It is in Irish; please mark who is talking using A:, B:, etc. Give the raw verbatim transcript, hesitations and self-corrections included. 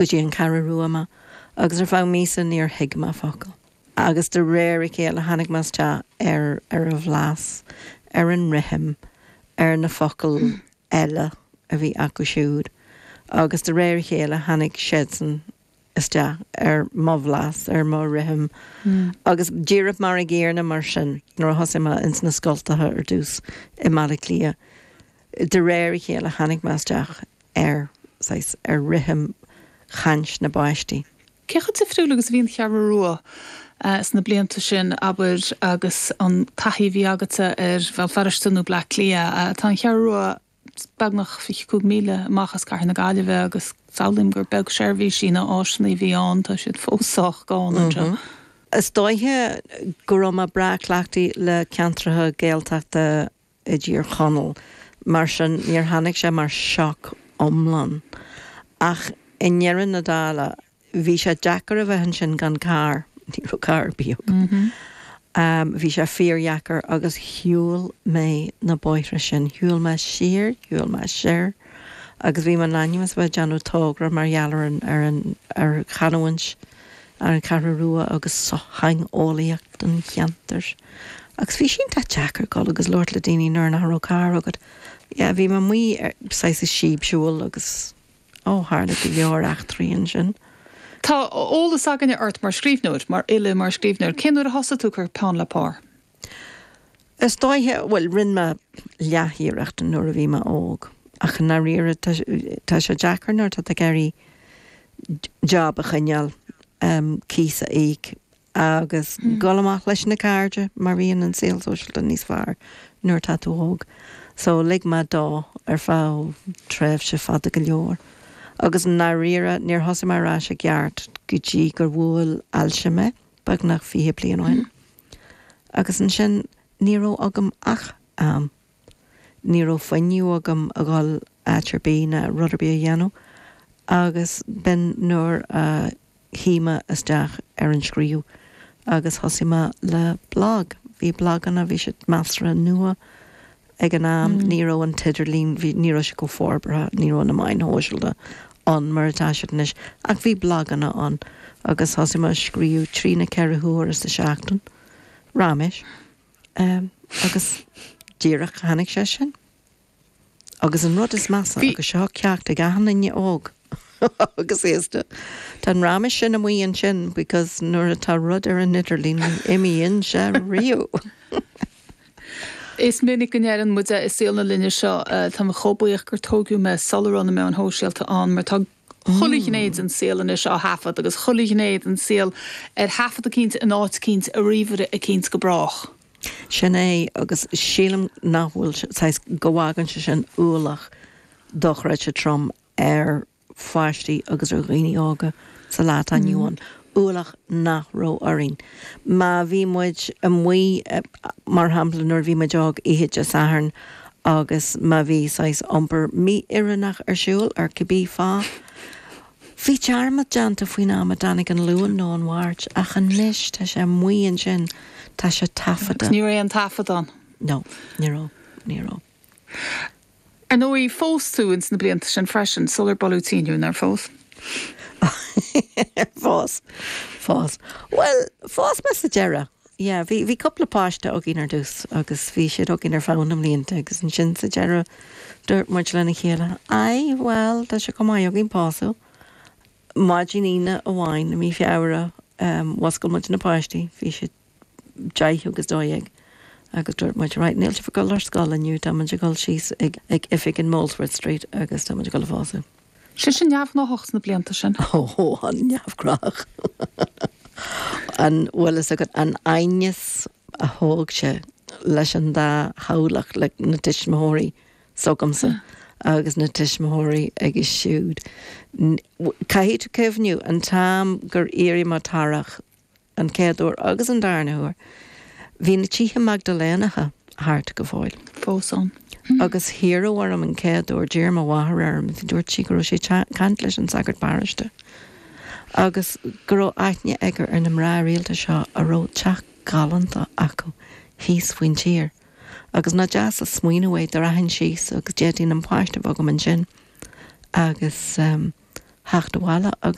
A: Go dtí an Cheathrú Rua mé agus ar feadh míosa níor thuig mé focal. Agus de réir a chéile tháinig mé isteach ar ar a bhlas, ar an rithim, ar na focail eile a bhí acu siúd, agus de réir a chéile tháinig siadsan isteach ar mo bhlas, ar mo rithim. Agus díreach mar an gcéanna mar sin nuair a thosaigh mé ins na scoltacha ar dtús i mBaile Átha Cliath. De réir a chéile tháinig mé isteach ar ar rithim chaint na bpáistí.
B: Cé chomh difriúil agus a bhí an Cheathrú Rua sna blianta sin abair agus an taithí a bhí agatsa ar Bhéal Feirste nó Bleá Cliath tá an Cheathrú Rua beagnach fiche cúig míle amach as cathair na Gaillimhe agus samhlaím gur beag seirbhísí nó áiseanna a bhí ann tá siad fós sách gann anseo.
A: Is dóiche go raibh mé breá cleachtaithe le ceantracha Gaeltachta i dTír Chonaill, mar sin níor tháinig sé mar shock iomlán. Ach i ndeireadh na dála bhí sé deacair a bheith ansin gan carr, ní raibh carr ar bith agam. Um, bhí sé fíordheacair agus shiúil mé na bóithre sin, shiúil mé siar, shiúil mé siar, agus bhí mé in ainm is bheith déanamh togra mar gheall ar an ar an ar chanúint ar an Cheathrú Rua agus sochtheangeolaíocht an cheantair. Agus bhí sin deacair dul agus labhairt le daoine nuair nach raibh carr agat. Ja, bhí mé amuigh saghas síobshiúl agus ó tharla go leor eachtraí ansin.
B: Tá eolas againne ort mar scríbhneoir, mar fhile mar scríbhneoir, cén uair a thosaigh tú cur peann le pár?
A: Is dóiche bhuel rinne mé leathiarracht nuair a bhí mé óg, ach dáiríre tá sé deacair nuair tá ag iarraidh job a choinneáil um, cíos a íoc agus mm. dul amach leis na cairde mar bhíonn an saol sóisialta níos fearr nuair tá tú óg. So lig mé dó ar feadh tréimhse fada go leor. Agus dáiríre níor thosaigh mé ar ais i gceart go dtí gur bhuail ailse mé beagnach fiche bliain ó shin. Agus ansin ní raibh agam ach am. Ní raibh fuinneamh agam a dhul áit ar bith ná rud ar bith a dhéanamh, agus b'in nuair a shuigh mé isteach ar an scríobh agus thosaigh mé le blog. Bhí bloganna bhí siad measartha nua ag an am ní raibh an t-idirlíon ní raibh sé go forbartha, ní raibh na meáin shóisialta ann mar atá siad anois, ach bhí bloganna ann agus thosaigh mé scríobh trí nó ceithre huaire sa seachtain. Raiméis. Um, agus díreach tháinig sé sin. Agus an rud is measa agus seo ceacht ag achan duine óg. agus aosta. Tá an raiméis sin amuigh ansin because nuair atá rud ar an idirlíon imíonn sé riamh.
B: Is minic go ndeireann muide i saol na linne seo tá mé chomh buíoch gur tógadh mé sula raibh na meáin shóisialta ann mar tá chuile ghné den saol anois á thaifead agus chuile ghné den saol ar thaifead eicínt in áit eicínt ar ríomhaire eicínt go brách.
A: Sin é agus sílim nach bhfuil go bhfágann sé sin ualach dochreidte trom ar pháistí agus ar dhaoine óga sa lá atá inniu ann. Ualach nach raibh orainn. Má bhí muid amuigh mar shampla nuair bhí muid óg oíche Dé Sathairn agus má bhí saghas iompar mí-oiriúnach ar siúl ar cibé fáth. Bhí dearmad déanta faoin am a dtáinig an Luan nó an Mháirt ach anois tá sé amuigh ansin tá sé taifeadta.
B: Ní raibh aon taifead ann.
A: No, ní raibh, ní raibh.
B: Ar ndóigh phós tú ins na blianta sin freisin sular bualadh tinn thú nár phós.
A: Phós phós. Well, phós mé sa deireadh. Yeah, bhí bhí cúpla páiste againn ar dtús agus bhí siad againn ar feadh na mblianta agus ansin sa deireadh dúirt muid lena chéile. Ai, well, tá sé go maith againn pósadh. Maidin Aoine amháin i mí Feabhra um, mhúscail muid na páistí, bhí siad deich agus dó dhéag. Agus dúirt muid right, níl sibh ag dul ar scoil inniu tá muid ag dul síos ag ag oifig in Molesworth Street agus tá muid ag dul a phósadh.
B: Sé sin neamhghnách sna blianta sin.
A: Ó an neamhghnách. An bhfuil fhios agat an aighneas a thóg sé leis an dá theaghlach le na tuismitheoirí s'agamsa agus na tuismitheoirí aige siúd. Caithfidh tú cuimhniú an t-am gur éirigh mé torrach an chéad uair agus an darna huair. Bhí na tithe Maigdiléanacha thart go fóill.
B: Fós ann.
A: Agus hiarradh orm an chéad uair d'iarr mo mháthair orm, dúirt sí go raibh sé caint leis an sagart paróiste. Agus go raibh aithne aige ar na mná rialta seo a raibh teach galánta acu thíos faoin tír. Agus nach deas an smaoineamh é do rachainn síos agus d'fhéadfainn an páiste a bheith agam ansin. Agus um, theacht abhaile agus